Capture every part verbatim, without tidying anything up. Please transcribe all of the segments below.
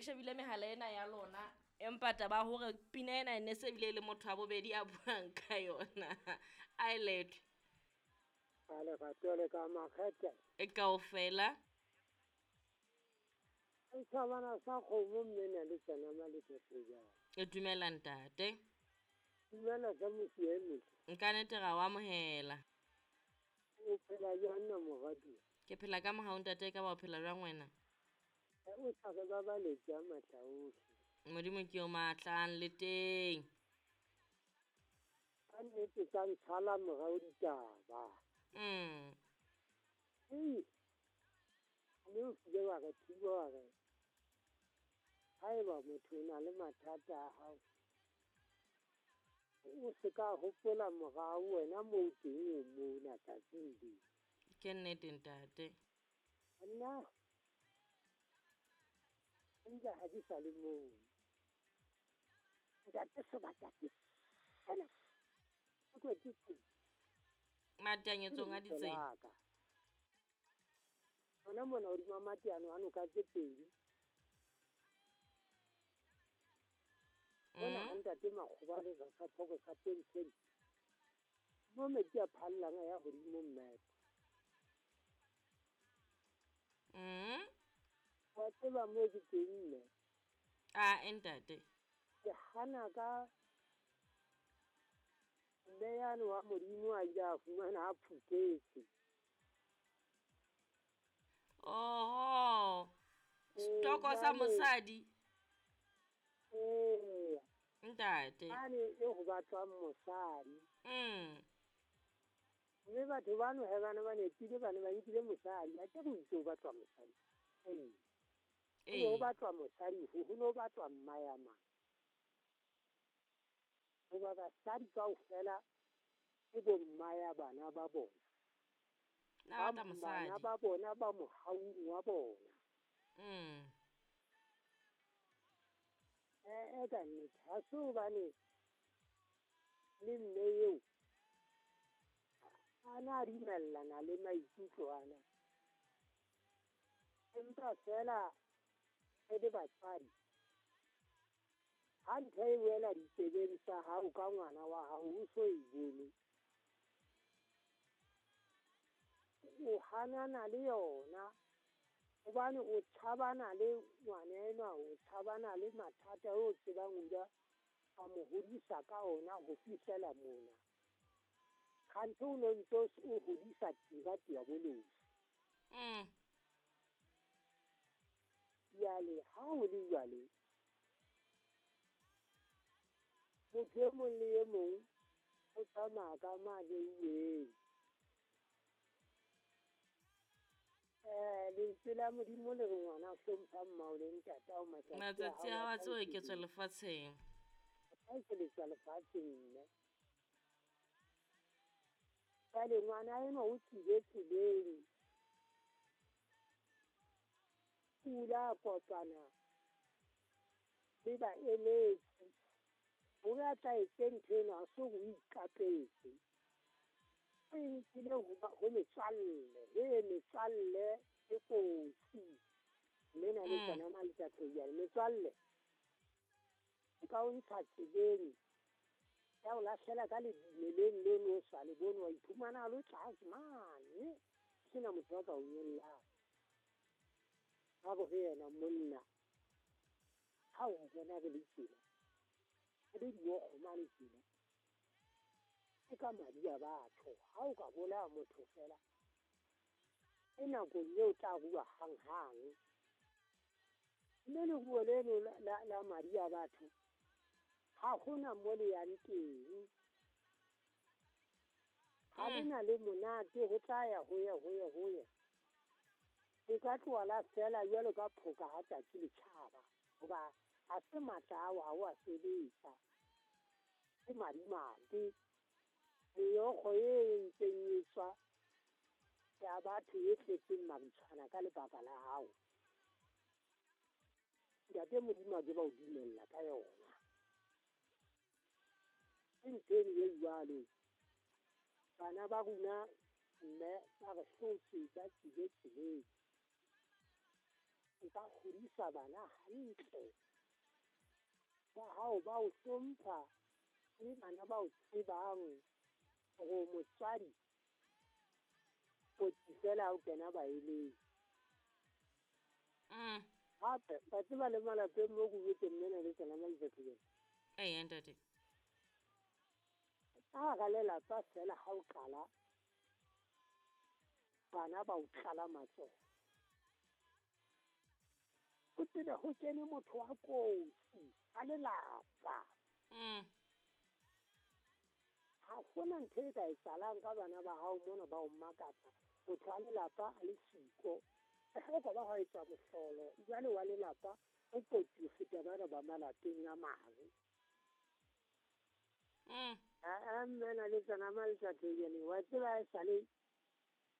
shebile mehala ena ya lona empa taba hore pina ena e ne se bile le motho wa bobedi a buang ka yona. A e lethwe. A le ratole ka makgethe. E kaofela. E thabana sa kgomo mme na le tsena maleketse jang. E dumela ntate. Dumela ka mosieme. Nka nete ra o amohela. O phela jwang na moradi? Ke phela ka mohau ntate, ka ba o phela jwang wena? O sa re ba baletse a matla ohle. Modimo ke o matlang le teng. Ka nnete tsa ntshala morao ditaba. Mm. Ei, mme o kile wa re thiba wa re haeba motho o na le mathata a hao, o se ka hopola morao wena moo teng o mona tsatsing leo. Ke nnete ntate. Nna nka ha di sa le moo. Ntate sebata ke sena. Ke ke ke. Matanyetsong a ditsela. Hona mona hodima mateano a noka tse pedi. Mona ha ntate Makgoba le sa thoko sa teng. Mo metsi a phallang a ya hodimo mme. Mm. Wa tseba mo ke teng mme. A ntate. Ke hana ka mme yane wa Modimo a ile a fumana a phuketse. Oho. Setoko sa mosadi. Eh. Ntate. Ane e ho batlwang mosadi. Mm. Mme batho bano he bana ba nepile bana ba nkile mosadi, a ke go itse ho batlwa mosadi. Eh. Eh. Ho batlwa mosadi, ho no batlwa mma ya mang. Hoba basadi kaofela ke bo mma ya bana ba bona. Na batla mosadi. Bana ba bona ba mohaung wa bona. Mm. Eh, ka nnete ha se hobane le mme eo a na dumellana le maikutlo ana. Empa fela re le batswadi, ha ntho e wela ditsebeng tsa hao ka ngwana wa hao o so e bone, o hanana le yona hobane o tshabana le ngwana enwa, o tshabana le mathata o tsebang o ja a mo hodisa ka ona ho fihlela mona. Kganthe o no ntso o hodisa tira diabolosi. Mm. Jwale ha o le jwale, motho e mong le e mong o tsamaya ka mane uweng. Eh, lentswe la Modimo le re ngwana hlompha mmao le ntatao matsatsi Matsatsi a hao a tse oketswa lefatsheng. A ekeletswa lefatsheng mme. Jwale ngwana enwa o tswile tseleng. O ile a kopana le baeletsi hore a tla etse ntho ena, ha se hore o ikapetse. O e nkile ho metswalle, he metswalle e kotsi. Mme na le tsona maletsatsi jwale metswalle e ka o ntsha tseleng ya o lahlela ka lemeleng leno o sa le bone, wa iphumana a lo tlase mane sena motho a ka o nyollang. Ha bo re yena monna ha o bona re le tsela re le diokgo mane tsela ke ka madi a batho. Ha o ka bolaya motho fela e nakong eo tla rua hang-hang. Mme leruo leno la, la madi a batho ha hona mo le yang teng. Ha le na le monate ho tla ya ho ya ho ya ho ya. E ka tloha la fela jwalo ka phoka ha tsatsi le tjhaba, hoba ha se matla ao ha o a sebetsa. Ke madimabe. Meokgo e ntseng e tswa ya batho e tletseng mabitshwana ka lebaka la hao. Ntate Modimo a ke ba o dumella ka yona. Ke ntho eno e jwalo. Bana ba rona mme ba re hlotse ba tswile tseleng. O ka hodisa bana hantle. Ba hao ba o hlompha le bana ba o tsebang hore motswadi kotsi fela ha o kena baeleng. Mm. Hape ba tseba le malapeng mo go botse mmena le tsena maitsatsi. Ee ntate. Ka hara lelapa fela ha o qala bana ba o tlala matsoho. O tsebe ho kene motho wa kotsi a lelapa. Mm. Ha hona ntho e ka etsahalang ka bana ba hao mona ba o makatsa. Motho wa lelapa a le siko. Ha ka ba ha etsa mohlolo jwale wa lelapa o kotsi ho feta bana ba malapeng a mang. Mm. A mmena le tsena maitsatsi wa tseba e sale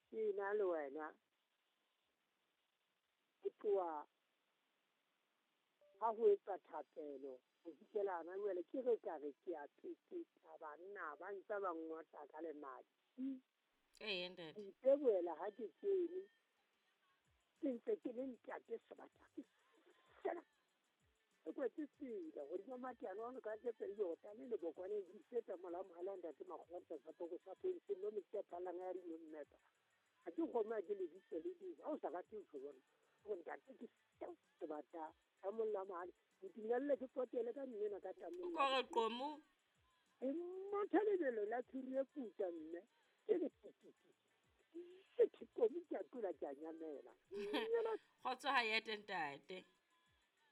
ke na le wena. Ke tloha ha ho etsa thapelo ho fihlela hana jwale ke re ka re ke a pepeta banna ba ntse ba ngotla ka lemati. Ee ntate. Ke itebohela ha ke kene ke ntse ke le ntate sebata ke fela. E kwetse tsela hodima mateano ano ka tse pedi hota le lebokwane di feta mola mohala ntate Makgotla sa poko sa pele sello metsi a phallang a dino mmepa. Ha ke kgome ha ke lebitso le ding ha o sa rate ho bona hore ntate ke sebata ka molla mohale ntumelle ke potele ka mmena ka tameng. O ka re qomo e motho lebelo la thuri e putsa mme ke le ke ke qomo ke a tula ke a nyamela. Kgotso ha ya teng ntate.